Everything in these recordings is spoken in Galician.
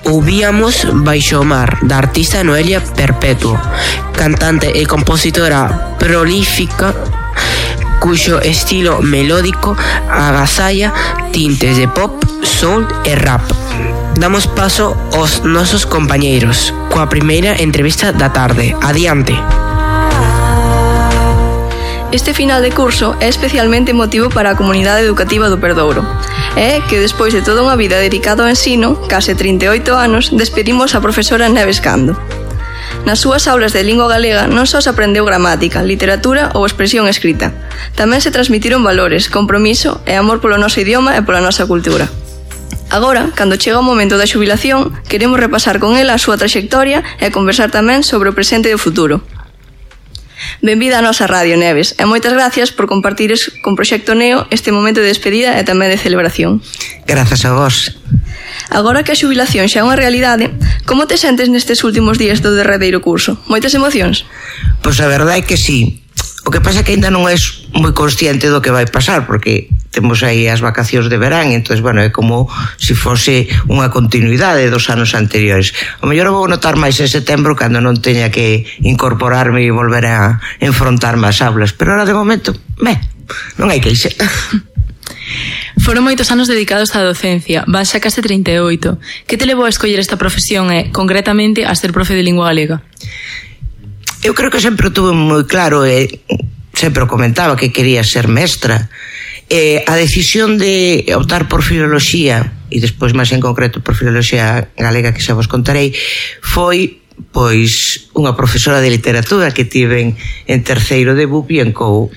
Ouvíamos Baixo o mar, da artista Noelia Perpetuo, cantante e compositora prolífica cuxo estilo melódico agasalla tintes de pop, soul e rap. Damos paso aos nosos compañeiros coa primeira entrevista da tarde. Adiante. Este final de curso é especialmente emotivo para a comunidade educativa do Perdouro. É que despois de toda unha vida dedicada ao ensino, case 38 anos, despedimos a profesora Neves Cando. Nas súas aulas de lingua galega non só se aprendeu gramática, literatura ou expresión escrita. Tamén se transmitiron valores, compromiso e amor polo noso idioma e pola nosa cultura. Agora, cando chega o momento da xubilación, queremos repasar con ela a súa traxectoria e conversar tamén sobre o presente e o futuro. Benvida á nosa radio, Neves, e moitas gracias por compartires con Proxecto Neo este momento de despedida e tamén de celebración. Grazas a vos. Agora que a xubilación xa é unha realidade, como te sentes nestes últimos días do derradeiro curso? Moitas emocións? Pois a verdade é que sí. O que pasa é que ainda non és moi consciente do que vai pasar, porque temos aí as vacacións de verán, entón, bueno, é como se fose unha continuidade dos anos anteriores. O mellor vou notar máis en setembro cando non teña que incorporarme e volver a enfrontarme ás aulas, pero ahora de momento, non hai queixa. Foron moitos anos dedicados á docencia, van xa case 38. Que te levou a escoller esta profesión e, concretamente, a ser profe de lingua galega? Eu creo que sempre o tuve moi claro e sempre o comentaba que quería ser mestra. A decisión de optar por filoloxía e despois máis en concreto por filoloxía galega, que xa vos contarei, foi pois unha profesora de literatura que tiven en terceiro de BUP e en COU.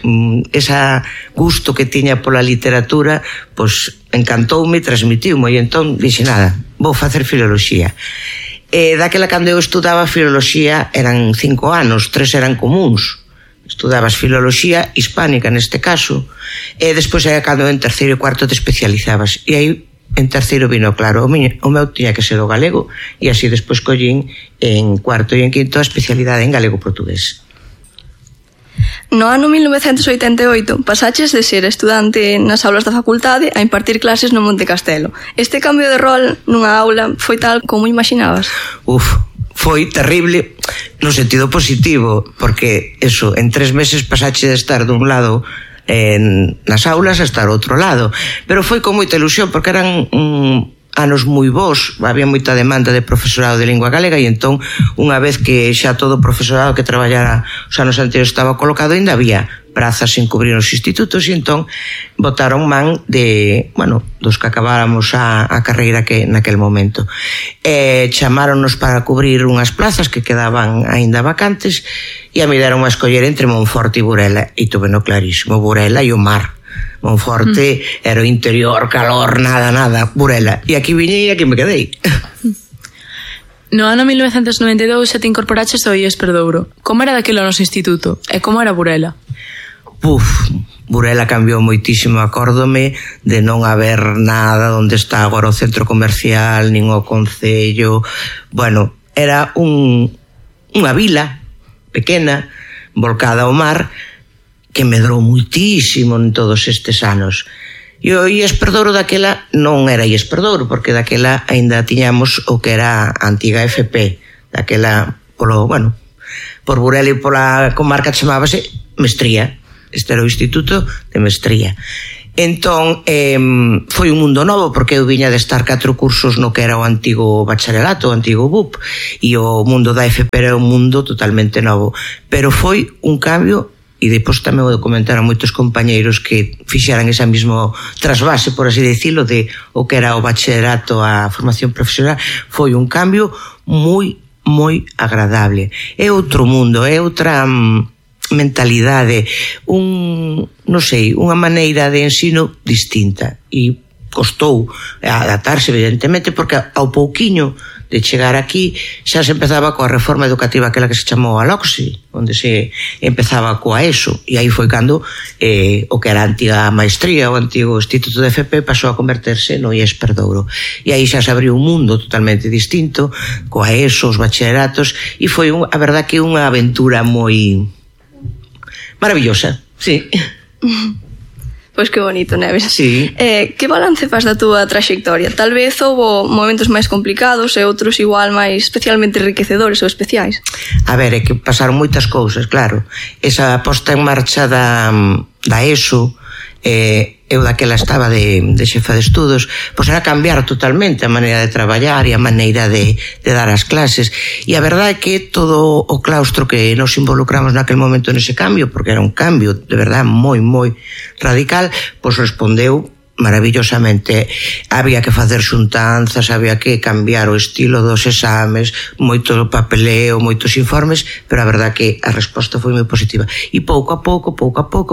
Esa gusto que tiña pola literatura pois encantoume, transmitiume e entón dixe nada, vou facer filoloxía. Daquela cando eu estudaba filoloxía eran 5 anos, 3 eran comuns. Estudabas filoloxía hispánica neste caso, e despois era cando en terceiro e cuarto te especializabas, e aí en terceiro vino claro, o meu tiña que ser o galego, e así despois collín en cuarto e en quinto a especialidade en galego-portugués. No ano 1988 pasaches de ser estudante nas aulas da facultade a impartir clases no Monte Castelo. Este cambio de rol nunha aula foi tal como imaginabas? Foi terrible no sentido positivo, porque eso, en 3 meses pasache de estar dun lado nas aulas a estar ao outro lado, pero foi con moita ilusión porque eran anos moi bons, había moita demanda de profesorado de lingua galega e entón unha vez que xa todo o profesorado que traballara os anos anteriores estaba colocado, ainda había prazas sin cubrir os institutos e entón botaron man de, dos que acabáramos a carreira que naquel momento. Chamáronos para cubrir unhas plazas que quedaban aínda vacantes e a me deron a escoller entre Monforte e Burela e tuve no clarísimo, Burela e o mar. Monforte era o interior, calor, nada, Burela. E aquí viñei e aquí me quedei. No ano 1992 xa te incorporaches ao IES Perdouro. Como era daquilo o noso instituto? E como era Burela? Burela cambiou moitísimo, acórdome de non haber nada onde está agora o centro comercial, nin o concello. Era unha vila pequena, volcada ao mar, que medrou muitísimo en todos estes anos. E o IES Perdouro daquela non era IES Perdouro, porque daquela aínda tiñamos o que era a antiga FP. Daquela, por Burela e pola comarca chamábase Mestría. Este era o Instituto de Mestría. Entón, foi un mundo novo, porque eu viña de estar 4 cursos no que era o antigo bacharelato, o antigo BUP, e o mundo da FP era un mundo totalmente novo. Pero foi un cambio. E depois tamén vou comentar a moitos compañeiros que fixeran esa mismo trasvase, por así decirlo, de o que era o bachillerato a formación profesional. Foi un cambio moi, moi agradable. É outro mundo, é outra mentalidade, unha maneira de ensino distinta. E costou adaptarse, evidentemente, porque ao pouquiño de chegar aquí xa se empezaba coa reforma educativa aquela que se chamou a LOCSI, onde se empezaba coa ESO, e aí foi cando o que era a antiga maestría, o antigo Instituto de FP, pasou a converterse no IES Perdouro, e aí xa se abriu un mundo totalmente distinto coa ESO, os bachilleratos, e foi a verdad que unha aventura moi maravillosa, sí. Pois que bonito, Neves. Sí. Que balance faz da túa traxectoria? Tal vez houbo momentos máis complicados e outros igual máis especialmente enriquecedores ou especiais. A ver, é que pasaron moitas cousas, claro. Esa posta en marcha da ESO, eu daquela estaba de xefa de estudos, pois era cambiar totalmente a maneira de traballar e a maneira de dar as clases, e a verdade é que todo o claustro que nos involucramos naquele momento nese cambio, porque era un cambio de verdade moi radical, pois respondeu maravillosamente. Había que facer xuntanzas, había que cambiar o estilo dos exames, moito papeleo, moitos informes, pero a verdad que a resposta foi moi positiva. E pouco a pouco,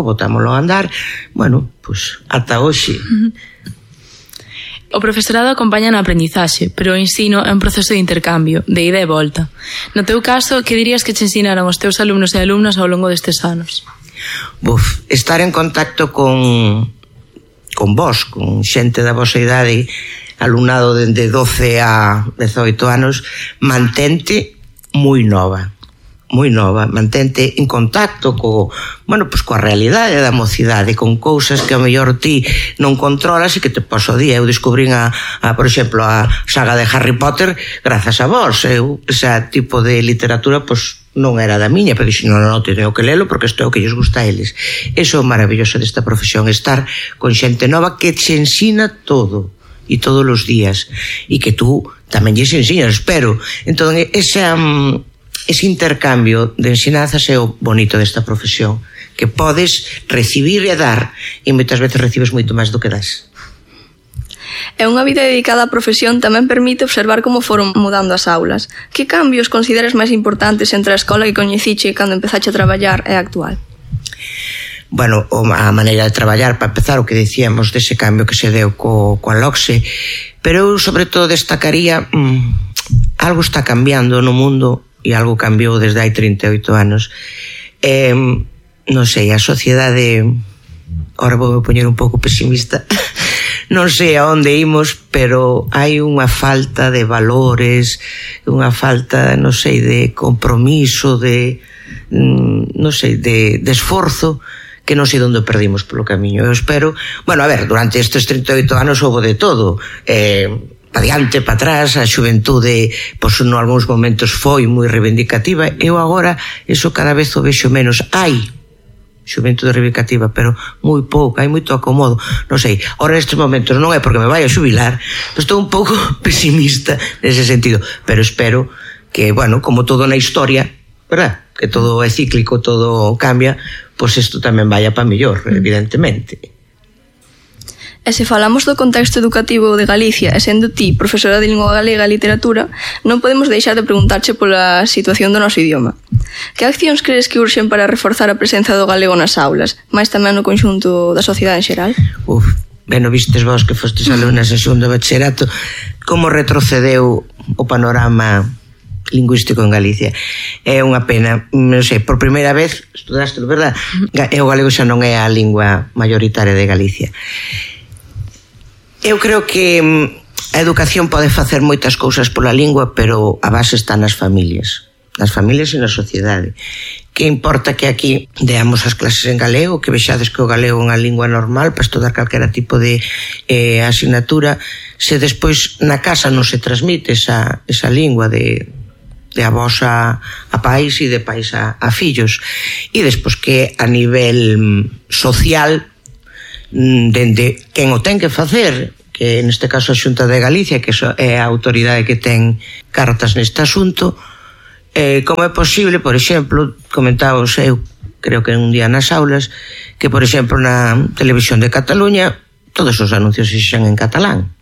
botámoslo a andar, bueno, pois ata hoxe. O profesorado acompaña na aprendizaxe, pero o ensino é un proceso de intercambio, de ida e volta. No teu caso, que dirías que te ensinaron os teus alumnos e alumnas ao longo destes anos? Estar en contacto con vos, con xente da vosa idade, alumnado dende 12 a 18 anos, mantente moi nova, mantente en contacto coa realidade da mocidade, con cousas que a mellor ti non controlas e que te paso día. Eu descubrín por exemplo, a saga de Harry Potter grazas a vos. Ese tipo de literatura, pois, non era da miña, pero dixen, non, teño que lelo porque isto é o que lles gusta a eles. Eso é o maravilloso desta profesión, estar con xente nova que te ensina todo e todos os días, e que tú tamén lles ensinas, espero. Entón, ese intercambio de ensinanzas é o bonito desta profesión, que podes recibir e dar, e moitas veces recibes moito máis do que das. E unha vida dedicada á profesión tamén permite observar como foron mudando as aulas. Que cambios consideras máis importantes entre a escola que coñeciche cando empezache a traballar e a actual? Bueno, a maneira de traballar, para empezar, o que dicíamos dese cambio que se deu coa LOCSE, pero eu sobre todo destacaría algo está cambiando no mundo e algo cambiou desde hai 38 anos. Non sei, a sociedade, ahora vou me poñer un pouco pesimista, non sei a onde imos, pero hai unha falta de valores, unha falta, non sei, de compromiso, de esforzo, que non sei onde perdimos polo camiño. Eu espero, bueno, a ver, durante estes 38 anos houve de todo, pa diante, pa atrás, a xuventude, pois, en algúns momentos foi moi reivindicativa. Eu agora, eso cada vez o vexo menos. Hai xuventude reivindicativa, pero moi pouco, hai moito acomodo. Non sei, ahora nestes momentos non é porque me vai a xubilar, pero estou un pouco pesimista nese sentido, pero espero que, bueno, como todo na historia, verdad? Que todo é cíclico, todo cambia, pois isto tamén vaya para mellor, evidentemente. E se falamos do contexto educativo de Galicia, e sendo ti profesora de lingua galega e literatura, non podemos deixar de preguntarche pola situación do noso idioma. Que accións crees que urxen para reforzar a presenza do galego nas aulas, máis tamén no conxunto da sociedade en xeral? Ben, vistes vos que fostes alumnas en segundo bachillerato, como retrocedeu o panorama lingüístico en Galicia. É unha pena, non sei, por primeira vez estudaste, verdad? O galego xa non é a lingua mayoritaria de Galicia. Eu creo que a educación pode facer moitas cousas pola lingua, pero a base está nas familias e na sociedade. Que importa que aquí deamos as clases en galego, que vexades que o galego é unha lingua normal para estudar calquera tipo de asignatura, se despois na casa non se transmite esa lingua de avós a pais e de pais a fillos, e despois que a nivel social, dende quen o ten que facer, que neste caso a Xunta de Galicia, que é a autoridade que ten cartas neste asunto, como é posible, por exemplo, comentábamos eu, creo que un día nas aulas, que por exemplo na televisión de Cataluña todos os anuncios se xan en catalán.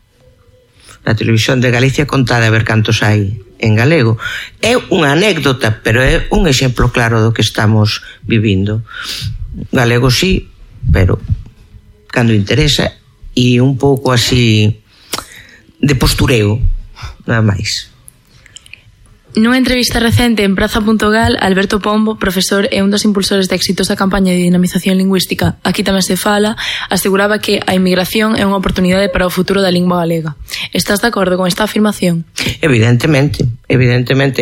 Na televisión de Galicia contada a ver cantos hai en galego. É unha anécdota, pero é un exemplo claro do que estamos vivindo. Galego sí, pero cando interesa, e un pouco así de postureo, nada máis. Nunha entrevista recente en Praza.gal, Alberto Pombo, profesor e un dos impulsores da exitosa campaña de dinamización lingüística Aquí tamén se fala, aseguraba que a inmigración é unha oportunidade para o futuro da lingua galega. Estás de acordo con esta afirmación? Evidentemente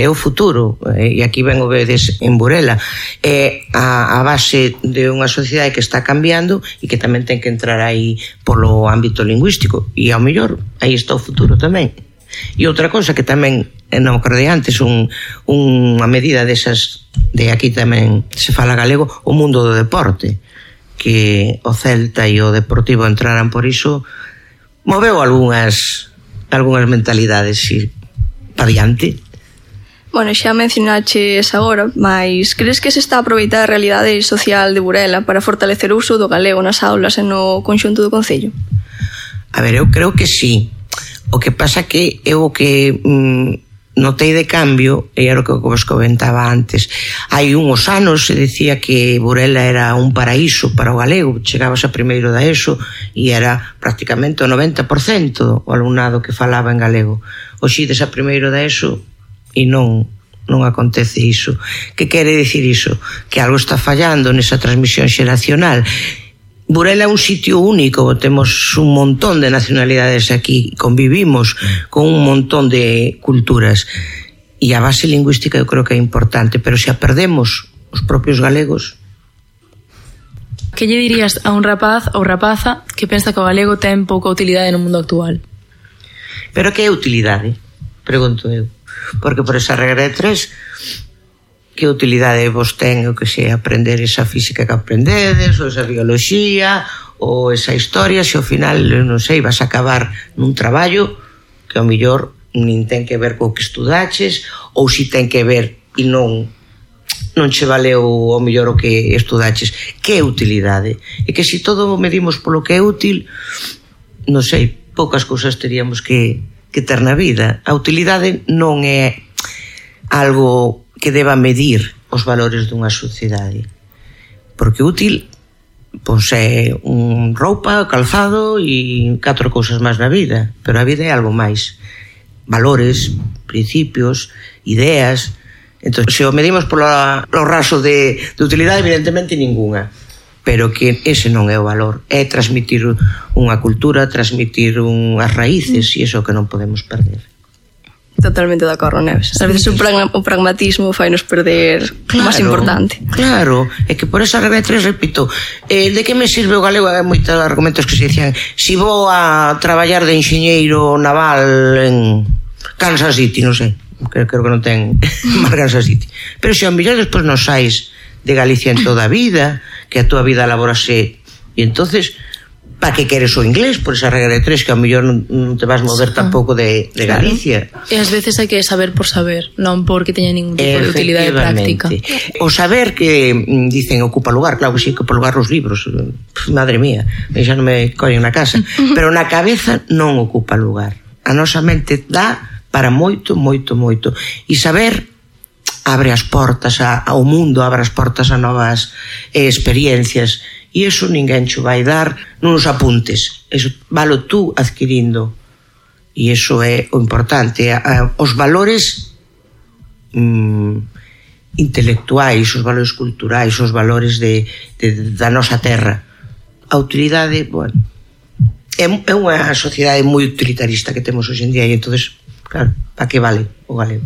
é o futuro, e aquí ben o vedes en Burela, é a base de unha sociedade que está cambiando e que tamén ten que entrar aí polo ámbito lingüístico, e ao mellor aí está o futuro tamén. E outra cosa que tamén non acordei antes, unha medida desas de aquí tamén se fala galego, o mundo do deporte, que o Celta e o Deportivo entraran por iso, moveu algunhas mentalidades, sí, para diante. Bueno, xa mencionaches agora, mas crees que se está a aproveitar a realidade social de Burela para fortalecer o uso do galego nas aulas e no conxunto do concello? A ver, eu creo que sí. O que pasa que eu o que notei de cambio, e era o que vos comentaba antes, hai uns anos se decía que Burela era un paraíso para o galego, chegabas a primeiro da ESO e era prácticamente o 90% o alumnado que falaba en galego. Hoxe ides a primeiro da ESO e non acontece iso. Que quere dicir iso? Que algo está fallando nesa transmisión xeracional. Burela é un sitio único, temos un montón de nacionalidades aquí, convivimos con un montón de culturas, e a base lingüística eu creo que é importante, pero se a perdemos os propios galegos. Que lle dirías a un rapaz ou rapaza que pensa que o galego ten pouca utilidade no mundo actual? Pero que é utilidade? Pregunto eu. Porque por esa regra de 3... que utilidade vos ten o que sei, aprender esa física que aprendedes, ou esa bioloxía, ou esa historia, se ao final, non sei, vas a acabar nun traballo que ao mellor nin ten que ver co que estudaches, ou si ten que ver e non che valeu ao mellor o que estudaches. Que é utilidade? E que se todo medimos polo que é útil, non sei, poucas cousas teríamos que ter na vida. A utilidade non é algo que deba medir os valores dunha sociedade, porque útil pois é un roupa, calzado e 4 cousas máis na vida, pero a vida é algo máis, valores, principios, ideas. Entón, se o medimos polo raso de utilidade, evidentemente ningunha, pero que ese non é o valor, é transmitir unha cultura, transmitir unhas raíces, e iso que non podemos perder. Totalmente de acordo, Neves. A veces o pragmatismo fai-nos perder o máis importante. Claro, é que por esa regra de 3, repito, de que me sirve o galego? Hai moitos argumentos que se dicían, si vou a traballar de enxeñeiro naval en Kansas City, non sei, creo que non ten máis Kansas City, pero se ao mellor despois non sais de Galicia en toda a vida, que a túa vida laborase, e entonces para que queres o inglés por esa regra de 3, que ao mellor non te vas mover tampouco de Galicia. E ás veces hai que saber por saber, non porque teña ningún tipo de utilidade práctica. O saber que dicen ocupa lugar, claro que sí, que ocupa lugar os libros, madre mía, xa non me collen na casa, pero na cabeza non ocupa lugar. A nosa mente dá para moito, moito, moito, e saber abre as portas ao mundo, abre as portas a novas experiencias, e iso ninguén xo vai dar nuns apuntes, iso valo tú adquirindo, e iso é o importante. Os valores intelectuais, os valores culturais, os valores da nosa terra. A utilidade, bueno, é unha sociedade moi utilitarista que temos hoxe en día, e entonces, claro, para que vale o galego?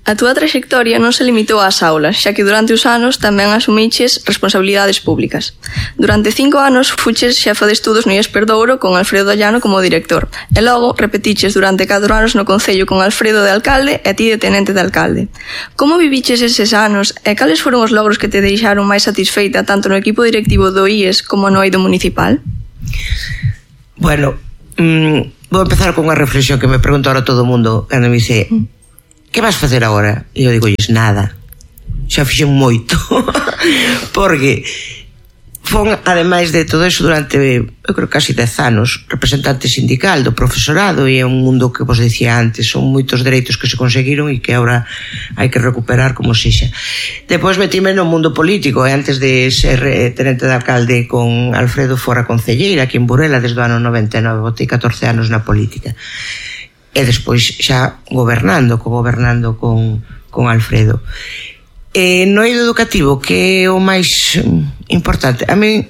A túa traxectoria non se limitou ás aulas, xa que durante os anos tamén asumiches responsabilidades públicas. Durante 5 anos fuches xefa de estudos no IES Perdouro con Alfredo Llano como director, e logo repetiches durante 4 anos no Concello con Alfredo de alcalde e ti de tenente de alcalde. Como viviches eses anos e cales foron os logros que te deixaron máis satisfeita tanto no equipo directivo do IES como no eido municipal? Bueno, vou empezar con unha reflexión que me pregunta ahora todo o mundo cando me dice que vas facer agora? E eu digo, nada, xa fixen moito porque fon, ademais de todo eso, durante eu creo casi 10 anos representante sindical do profesorado, e é un mundo que vos dicía antes, son moitos dereitos que se conseguiron e que agora hai que recuperar como sexa. Depois metime no mundo político, e antes de ser tenente de alcalde con Alfredo fora concelleira aquí en Burela desde o ano 99, botei 14 anos na política, e despois xa gobernando con Alfredo. No eido educativo, que é o máis importante, a mí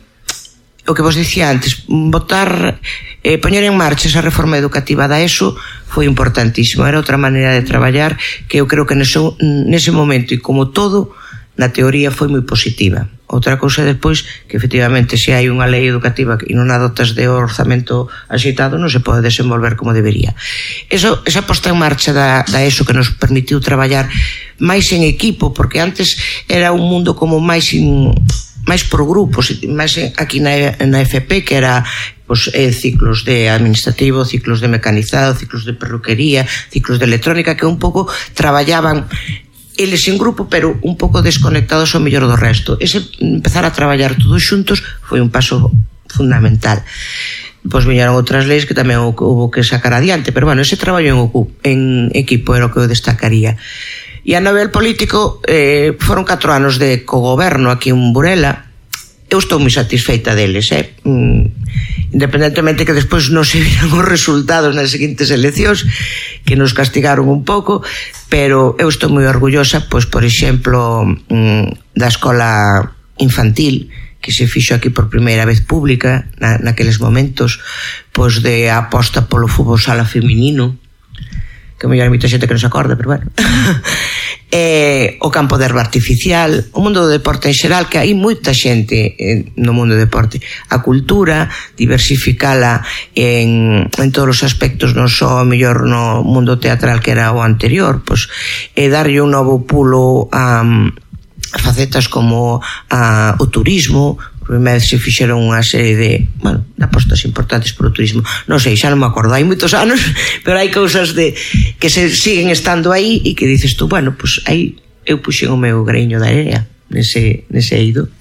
o que vos dicía antes, poñer en marcha esa reforma educativa da ESO foi importantísimo. Era outra maneira de traballar que eu creo que nese momento, e como todo, na teoría foi moi positiva. Outra cousa despois, que efectivamente se hai unha lei educativa e non a dotas de orzamento axeitado, non se pode desenvolver como debería. Esa posta en marcha da ESO que nos permitiu traballar máis en equipo, porque antes era un mundo como máis por grupos, máis aquí na FP, que era ciclos de administrativo, ciclos de mecanizado, ciclos de perruquería, ciclos de electrónica, que un pouco traballaban eles en grupo, pero un pouco desconectados ao mellor do resto. Ese empezar a traballar todos xuntos foi un paso fundamental. Pois viñeron outras leis que tamén houve que sacar adiante, pero bueno, ese traballo en equipo era o que eu destacaría. E a nivel político foron 4 anos de cogoberno aquí en Burela. Eu estou moi satisfeita deles, independentemente que despois non se viran os resultados nas seguintes eleccións, que nos castigaron un pouco, pero eu estou moi orgullosa, pois, por exemplo, da escola infantil, que se fixo aquí por primeira vez pública, naqueles momentos, pois de aposta polo fútbol sala feminino, que mellor hai moita xente que non se acorda, pero bueno. O campo de herba artificial, o mundo do deporte en xeral, que hai moita xente no mundo do deporte. A cultura, diversificala en todos os aspectos, non só mellor no mundo teatral que era o anterior, pois darlle un novo pulo a facetas como o turismo. Por primeira vez se fixeron unha serie de apostas importantes por o turismo. Non sei, xa non me acordo, hai moitos anos, pero hai cousas que se siguen estando aí e que dices tú, pois aí eu puxen o meu greño da area nese eido.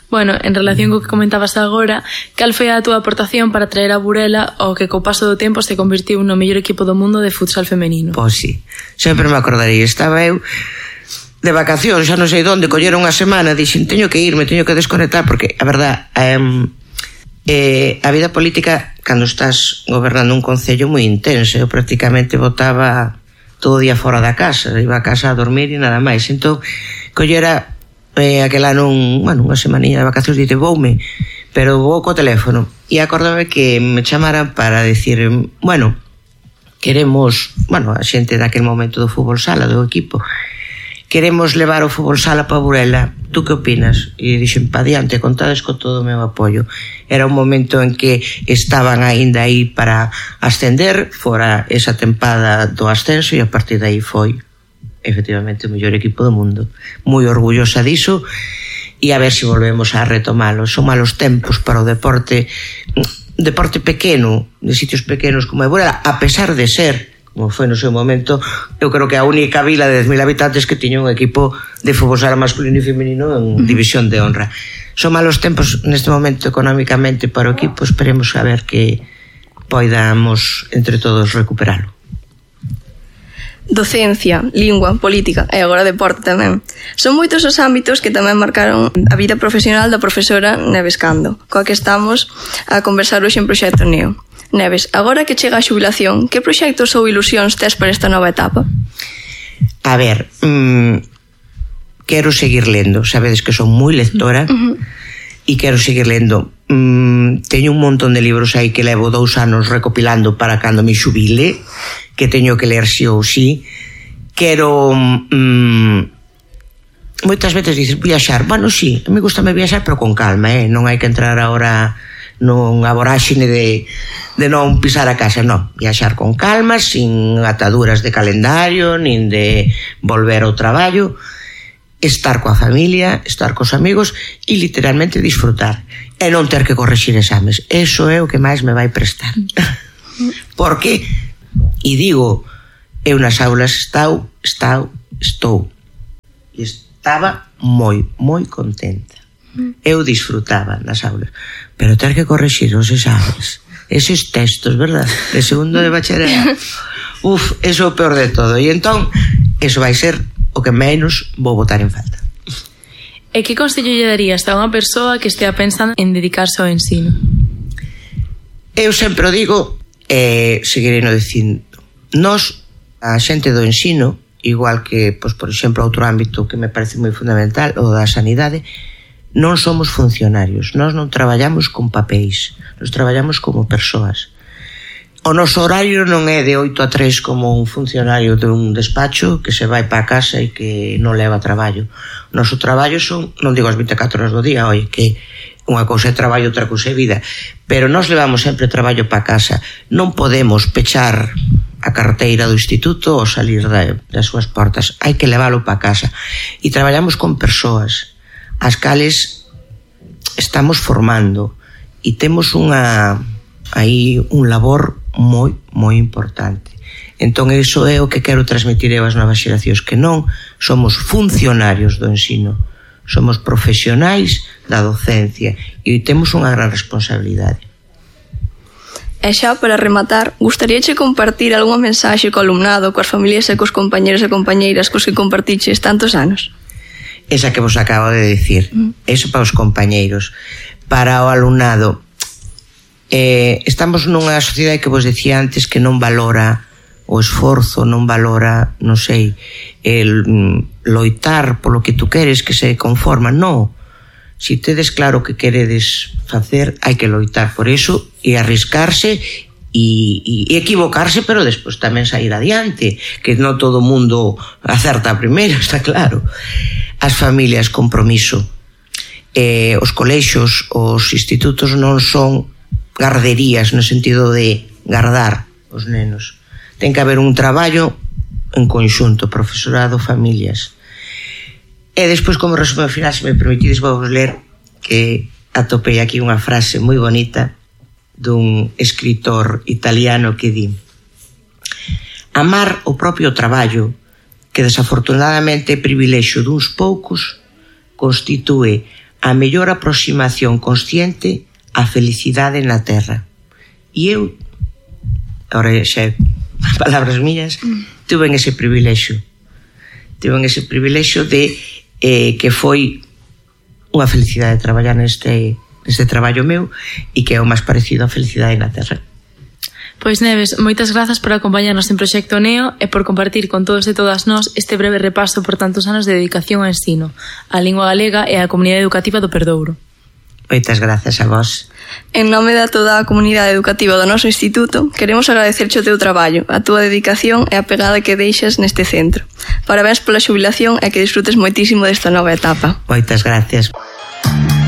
Bueno, en relación co que comentabas agora, cal foi a túa aportación para traer a Burela o que co paso do tempo se convertiu no mellor equipo do mundo de futsal femenino? Pois sí, sempre me acordaría. Estaba eu de vacacións, xa non sei onde, colleron unha semana, dixen, teño que irme, teño que desconectar, porque a verdad, a vida política, cando estás gobernando un concello moi intenso, eu prácticamente botaba todo o día fora da casa, iba a casa a dormir e nada máis. Entón, collera aquel ano unha semanilla de vacacións, dite, voume, pero vou co teléfono, e acordame que me chamaran para dicir, queremos, a xente daquel momento do fútbol sala, do equipo, queremos levar o fútbol sala para Burela, tú que opinas? E dixen, pa diante, contades con todo o meu apoio. Era un momento en que estaban aínda aí para ascender, fora esa tempada do ascenso, e a partir de aí foi efectivamente o mellor equipo do mundo. Moi orgullosa diso, e a ver se volvemos a retomalo. Son malos tempos para o deporte pequeno, de sitios pequenos como é Burela, a pesar de ser, como foi no seu momento, eu creo que a única vila de 10.000 habitantes que tiña un equipo de fútbol sala masculino e femenino en división de honra. Son malos tempos neste momento económicamente para o equipo, esperemos a ver que poidamos entre todos recuperalo. Docencia, lingua, política e agora deporte tamén. Son moitos os ámbitos que tamén marcaron a vida profesional da profesora Neves Cando, coa que estamos a conversar hoxe en Proxecto Neo. Neves, agora que chega a xubilación, que proxectos ou ilusións tes para esta nova etapa? A ver, quero seguir lendo. Sabedes que son moi lectora e quero seguir lendo. Teño un montón de libros aí que levo 2 anos recopilando para cando me xubile, que teño que ler si ou si. Quero moitas veces dices viaxar. Sí, me gustame viaxar, pero con calma, non hai que entrar agora nunha voráxine de non pisar a casa, non, viaxar con calma, sin ataduras de calendario, nin de volver ao traballo, estar coa familia, estar cos amigos e literalmente disfrutar e non ter que corrixir exames. Eso é o que máis me vai prestar. Porque, e digo, eu nas aulas estou e estaba moi contenta. Eu disfrutaba nas aulas, pero ter que corrixir os exames, eses textos, verdad, de segundo de bacharelato, eso é o peor de todo. E entón, eso vai ser o que menos vou botar en falta. E que consello lle darías a unha persoa que estea pensando en dedicarse ao ensino? Eu sempre o digo, seguirei no dicindo, nós, a xente do ensino, igual que, por exemplo, outro ámbito que me parece moi fundamental, o da sanidade, non somos funcionarios, nós non traballamos con papéis, nos traballamos como persoas. O noso horario non é de 8 a 3 como un funcionario dun despacho que se vai para casa e que non leva traballo. O noso traballo son, non digo as 24 horas do día, oi, que unha cousa é traballo, outra cousa é vida, pero nós levamos sempre traballo para casa. Non podemos pechar a carteira do instituto ou salir das súas portas. Hai que leválo para casa. E traballamos con persoas as cales estamos formando e temos aí un labor moi importante. Entón, iso é o que quero transmitir eu ás novas xeracións, que non somos funcionarios do ensino, somos profesionais da docencia e temos unha gran responsabilidade. E xa, para rematar, gustaríache compartir algunha mensaxe co alumnado, coas familias e cos compañeros e compañeiras cos que compartiches tantos anos? Esa que vos acabo de dicir, eso para os compañeiros. Para o alumnado, estamos nunha sociedade que vos decía antes que non valora o esforzo, non valora, non sei, el loitar polo que tú queres, que se conforma. Non, si tedes claro que queredes facer, hai que loitar por eso e arriscarse e equivocarse, pero despois tamén sair adiante, que non todo o mundo acerta a primeira, está claro. As familias, compromiso. Os colexios, os institutos non son garderías no sentido de gardar os nenos. Ten que haber un traballo en conxunto, profesorado, familias. E despois, como resumo final, se me permitides, vou ler que atopei aquí unha frase moi bonita dun escritor italiano que di: amar o propio traballo, que desafortunadamente é privilexio duns poucos, constitúe a mellor aproximación consciente a felicidade na terra. E eu, agora xa palabras miñas, tuve ese privilexio de que foi unha felicidade traballar neste traballo meu e que é o máis parecido a felicidade na terra. Pois Neves, moitas grazas por acompañarnos en Proxecto Neo e por compartir con todos e todas nós este breve repaso por tantos anos de dedicación ao ensino, á lingua galega e á comunidade educativa do Perdouro. Moitas grazas a vos. En nome de toda a comunidade educativa do noso instituto, queremos agradecerche o teu traballo, a túa dedicación e a pegada que deixas neste centro. Parabéns pola xubilación e que disfrutes moitísimo desta nova etapa. Moitas gracias.